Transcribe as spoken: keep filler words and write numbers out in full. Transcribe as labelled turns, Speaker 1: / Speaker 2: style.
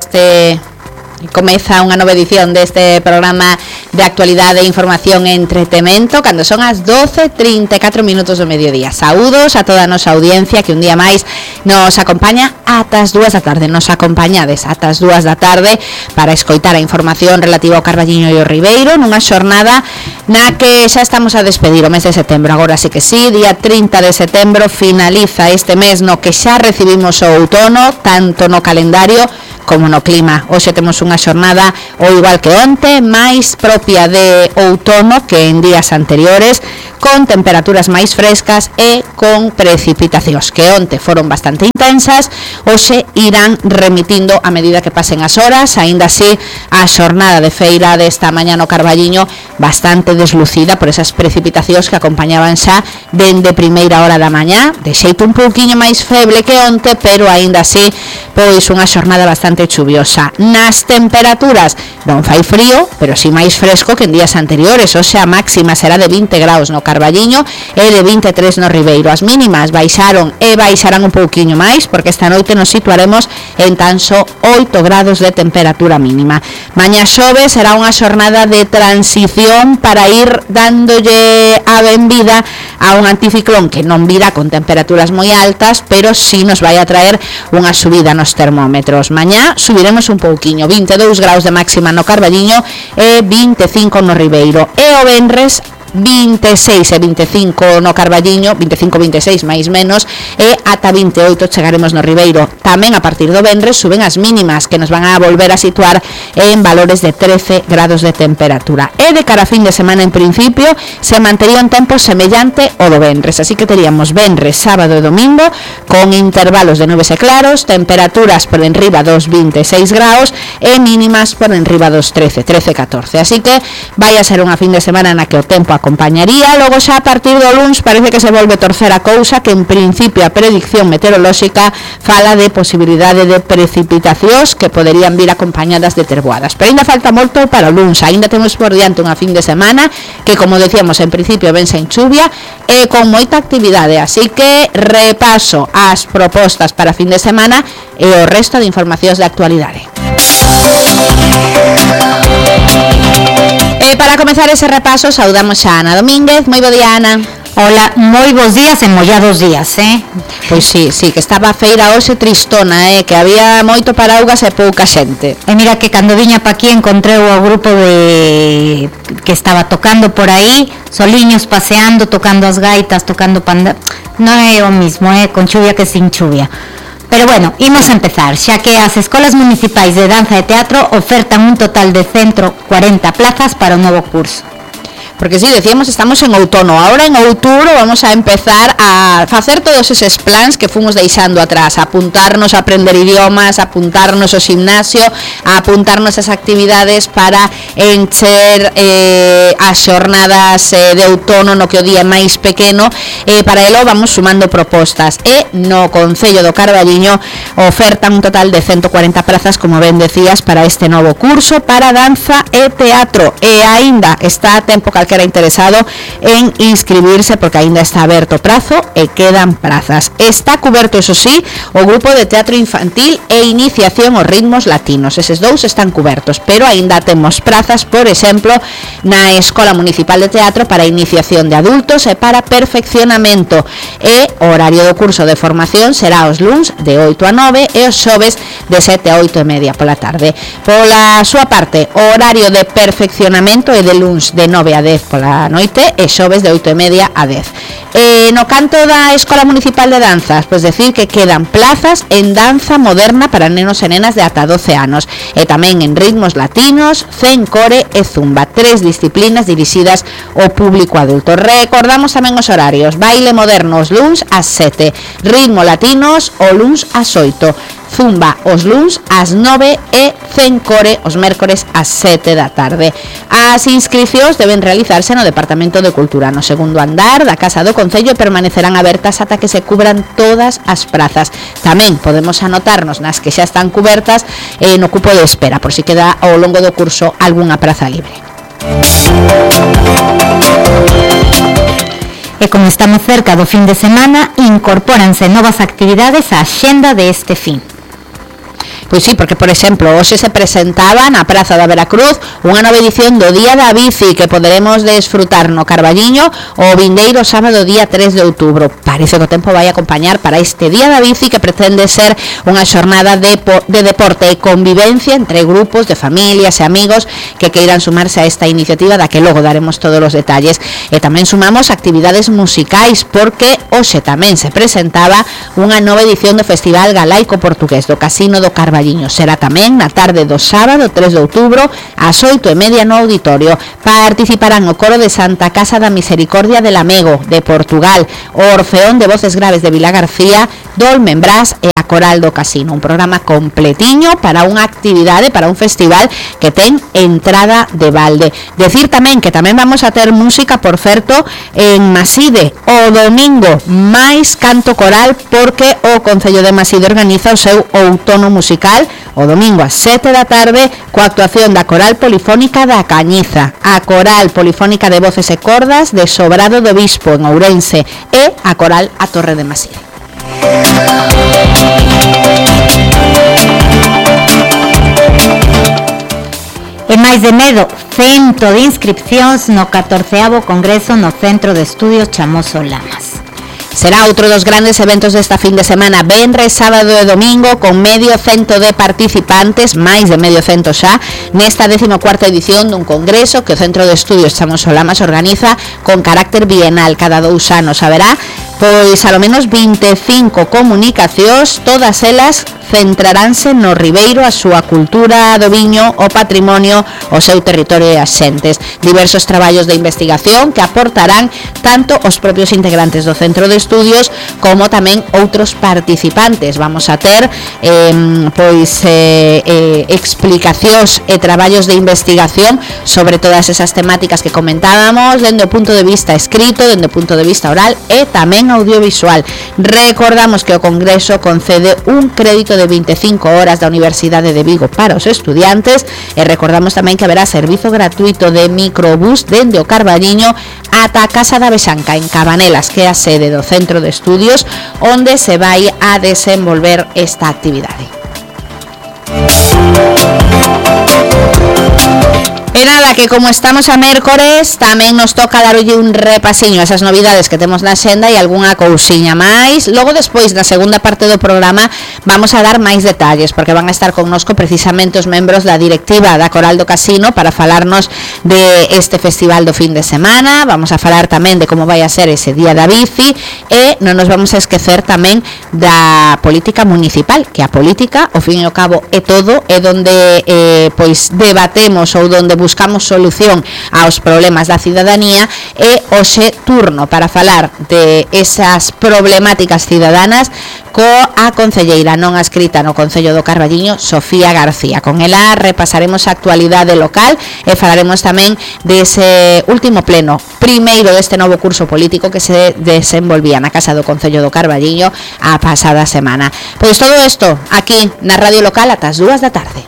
Speaker 1: este comeza unha nova edición deste programa de actualidade e información e entretemento cando son as doce e trinta e catro minutos do mediodía. Saúdos a toda a nosa audiencia que un día máis nos acompaña ata as dúas da tarde. Nos acompañades ata as dúas da tarde para escoitar a información relativa ao Carballiño e ao Ribeiro nunha xornada na que xa estamos a despedir o mes de setembro. Agora sí que sí, día trinta de setembro finaliza este mes no que xa recibimos o outono, tanto no calendario como no clima. Hoxe temos unha xornada o igual que onte, máis propia de outono que en días anteriores, con temperaturas máis frescas e con precipitacións que onte foron bastante intensas, hoxe irán remitindo a medida que pasen as horas. Aínda así, a xornada de feira desta mañá no Carballiño bastante deslucida por esas precipitacións que acompañaban xa dende primeira hora da mañá, de xeito un pouquiño máis feble que onte, pero aínda así, pois unha xornada bastante chuviosa. Nas temperaturas non fai frío, pero si máis fresco que en días anteriores. Hoxe a máxima será de vinte graus no Carballiño e de vinte e tres no Ribeiro. As mínimas baixaron e baixarán un pouquiño máis porque esta noite nos situaremos en tan só oito grados de temperatura mínima. Mañá xoves será unha xornada de transición para ir dándolle a benvida a un anticiclón que non virá con temperaturas moi altas, pero si nos vai a traer unha subida nos termómetros. Mañá subiremos un pouquiño, vinte e dous graus de máxima no Carballiño e vinte e cinco no Ribeiro. E o venres vinte e seis e vinte e cinco no Carballiño, vinte e cinco, vinte e seis máis menos, e ata vinte e oito chegaremos no Ribeiro. Tamén a partir do venres suben as mínimas que nos van a volver a situar en valores de trece grados de temperatura. E de cara a fin de semana en principio se mantería un tempo semellante ao do venres, así que teríamos venres, sábado e domingo con intervalos de nubes e claros, temperaturas por enriba dos vinte e seis graus e mínimas por enriba dos trece, trece, catorce. Así que vai a ser unha fin de semana na que o tempo acompañaría. Logo xa a partir do luns parece que se volve torcer a cousa, que en principio a predicción meteorolóxica fala de posibilidade de precipitacións que poderían vir acompañadas de terboadas, pero ainda falta moito para o luns. Ainda temos por diante unha fin de semana que, como decíamos, en principio ven sen chuvia e con moita actividade, así que repaso as propostas para fin de semana e o resto de informacións de actualidade. E para comezar ese repaso saudamos a Ana Domínguez. Moi bo día, Ana.
Speaker 2: Hola, moi bons días e mollados días, eh?
Speaker 1: Pois sí, sí, que estaba a feira hoxe tristona, eh? Que había moito paraugas e pouca xente.
Speaker 2: E mira que cando viña pa aquí encontrei o grupo de que estaba tocando por aí, soliños paseando, tocando as gaitas, tocando panda. Non é o mismo, eh? Con chuvia que sin chuvia. Pero bueno, imos a empezar, xa que as escolas municipais de danza e teatro ofertan un total de ciento cuarenta plazas para o novo curso.
Speaker 1: Porque sí, decíamos, estamos en outono. Ahora en outubro vamos a empezar a facer todos eses plans que fomos deixando atrás, a apuntarnos a aprender idiomas, a apuntarnos ao gimnasio, a apuntarnos as actividades para encher eh, as xornadas eh, de outono no que o día máis pequeno. Eh, para elo vamos sumando propostas e no Concello do Carballiño ofertan un total de ciento cuarenta plazas, como ben decías, para este novo curso para danza e teatro, e aínda está a tempo que era interesado en inscribirse porque aínda está aberto o prazo e quedan prazas. Está cuberto, eso sí, o grupo de teatro infantil e iniciación aos ritmos latinos. Eses dous están cubertos, pero aínda temos prazas, por exemplo, na Escola Municipal de Teatro para iniciación de adultos e para perfeccionamento. E o horario do curso de formación será os luns de oito a nove e os xoves de sete a oito e media pola tarde. Pola súa parte, o horario de perfeccionamento é de luns de nove a dez pola noite e xoves de oito e media a dez. E no canto da Escola Municipal de Danzas, pois decir que quedan plazas en danza moderna para nenos e nenas de ata doce anos e tamén en ritmos latinos, zen, core e zumba, tres disciplinas dirixidas ao público adulto. Recordamos tamén os horarios: baile moderno os luns ás sete, ritmo latinos o luns ás oito, zumba os luns ás nove e zen core os mércores ás sete da tarde. As inscricións deben realizarse no Departamento de Cultura, no segundo andar da Casa do Concello, e permanecerán abertas ata que se cubran todas as prazas. Tamén podemos anotarnos nas que xa están cubertas eh, no cupo de espera, por si queda ao longo do curso algunha praza libre.
Speaker 2: E como estamos cerca do fin de semana, incorpóranse novas actividades á axenda de este fin.
Speaker 1: Pois sí, porque, por exemplo, hoxe se presentaba na Praza da Veracruz unha nova edición do Día da Bici que poderemos desfrutar no Carballiño o vindeiro sábado día tres de outubro. Parece que o tempo vai acompañar para este Día da Bici que pretende ser unha xornada de, de deporte e convivencia entre grupos de familias e amigos que queiran sumarse a esta iniciativa da que logo daremos todos os detalles. E tamén sumamos actividades musicais porque hoxe tamén se presentaba unha nova edición do Festival Galaico Portugués do Casino do Carballiño. Será tamén na tarde do sábado tres de outubro ás oito e media no auditorio. Participarán o coro de Santa Casa da Misericordia de Lamego de Portugal, o Orfeón de Voces Graves de Vila García, Dolmen Brás e a Coral do Casino. Un programa completiño para unha actividade, para un festival que ten entrada de balde. Decir tamén que tamén vamos a ter música, por certo, en Maside o domingo, máis canto coral porque o Concello de Maside organiza o seu outono musical o domingo ás sete da tarde coa actuación da Coral Polifónica da Cañiza, a Coral Polifónica de Voces e Cordas de Sobrado do Bispo en Ourense e a Coral A Torre de Maside.
Speaker 2: E máis de medo, cento de inscripcións no catorceavo Congreso no Centro de Estudios Chamoso Lamas.
Speaker 1: Será outro dos grandes eventos desta fin de semana, venres, sábado e domingo, con medio cento de participantes, máis de medio cento xa, nesta decimocuarta edición dun congreso que o Centro de Estudios Chamoso Lamas organiza con carácter bienal cada dous anos. Haberá, pois, alo menos vinte e cinco comunicacións, todas elas centraránse no Ribeiro, a súa cultura do viño, o patrimonio, o seu territorio e as xentes. Diversos traballos de investigación que aportarán tanto os propios integrantes do Centro de Estudios como tamén outros participantes. Vamos a ter eh, pois eh, eh, explicacións e traballos de investigación sobre todas esas temáticas que comentábamos, dende o punto de vista escrito, dende o punto de vista oral e tamén audiovisual. Recordamos que o Congreso concede un crédito de vinte e cinco horas da Universidade de Vigo para os estudiantes e recordamos tamén que haberá servizo gratuito de microbús dende o Carballiño ata a Casa da Bexanca en Cabanelas, que é a sede do Centro de Estudios onde se vai a desenvolver esta actividade. E nada, que como estamos a mércores, tamén nos toca darlle un repasiño a esas novidades que temos na xenda e algunha cousiña máis. Logo, despois, na segunda parte do programa, vamos a dar máis detalles, porque van a estar connosco precisamente os membros da directiva da Coral do Casino para falarnos de este festival do fin de semana. Vamos a falar tamén de como vai a ser ese Día da Bici e non nos vamos a esquecer tamén da política municipal, que a política, ao fin e ao cabo, é todo, é donde eh, pois debatemos ou donde buscamos solución aos problemas da cidadanía e hoxe turno para falar de esas problemáticas cidadanas coa concelleira non adscrita no Concello do Carballiño, Sofía García. Con ela repasaremos a actualidade local e falaremos tamén dese último pleno, primeiro deste novo curso político que se desenvolvía na Casa do Concello do Carballiño a pasada semana. Pois todo isto aquí na Radio Local ata as dúas da tarde.